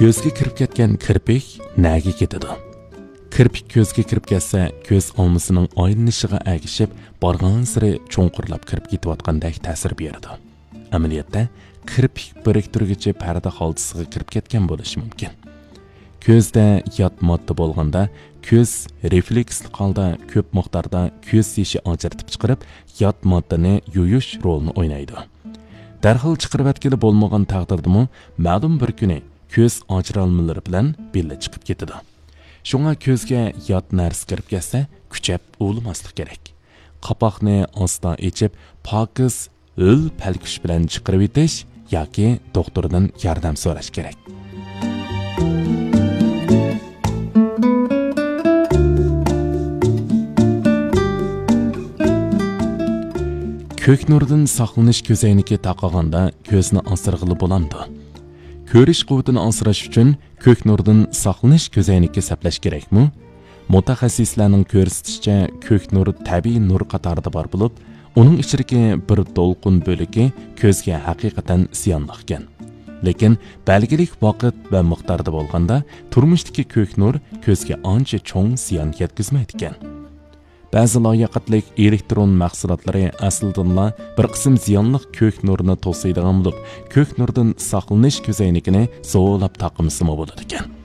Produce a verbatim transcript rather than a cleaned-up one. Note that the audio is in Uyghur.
كۆزگە كىرىپ كەتكەن كىرپىك نەگە كېتىدۇ؟ كىرپىك كۆزگە كىرىپ كەتسە، كۆز ئالمىسىنىڭ ئايلىنىشىغا ئەگىشىپ، بارغانسېرى چوڭقۇرلاپ كىرىپ كېتىۋاتقاندەك تەسىر بېرىدۇ. ئەمەلىيەتتە، كىرپىك بىرىكتۈرگۈچى پەردە خالتىسىغا كىرىپ كەتكەن بولۇشى مۇمكىن. كۆزدە يات ماددا بولغاندا، كۆز رېفلېكسلىق ھالدا كۆپ مىقداردا كۆز يېشى ئاجرىتىپ چىقىرىپ، يات ماددىنى يۇيۇش رولىنى ئوينايدۇ. دەرھال چىقىرىۋەتكىلى بولمىغان تەقدىردىمۇ، مەلۇم بىر كۈنى كۆز ئاجرالمىلىرى بىلەن بىللە چىقىپ كېتىدۇ. شۇڭا كۆزگە يات نەرسە كىرىپ كەتسە، كۈچەپ ئۇۋىلىماسلىق كېرەك. قاپاقنى ئاستا ئېچىپ، پاكىز، ھۆل پەلكۈش بىلەن چىقىرىۋېتىش ياكى دوختۇردىن ياردەم سوراش كېرەك. كۆك نۇردىن ساقلىنىش كۆزەينىكى تاقىغاندا كۆزنى ئاسرىغىلى بولامدۇ؟ كۆرۈش قۇۋۋىتىنى ئاسراش ئۈچۈن كۆك نۇردىن ساقلىنىش كۆزەينىكى سەپلەش كېرەكمۇ؟ مۇتەخەسسىسلەرنىڭ كۆرسىتىشىچە، كۆك نۇر تەبىئىي نۇر قاتارىدا بار بولۇپ، ئۇنىڭ ئىچىدىكى بىر دولقۇن بۆلىكى كۆزگە ھەقىقەتەن زىيانلىق ئىكەن. لېكىن بەلگىلىك ۋاقىت ۋە مىقداردا بولغاندا، تۇرمۇشتىكى كۆك نۇر كۆزگە ئانچە چوڭ زىيان يەتكۈزمەيدىكەن. بەزى لاياقەتلىك ئېلېكترون مەھسۇلاتلىرى ئەسلىدىنلا بىر قىسىم زىيانلىق كۆك نۇرنى توسۇيدىغان بولۇپ، كۆك نۇردىن ساقلىنىش كۆزەينىكىنى زورلاپ تاقىمىسىمۇ بولىدىكەن.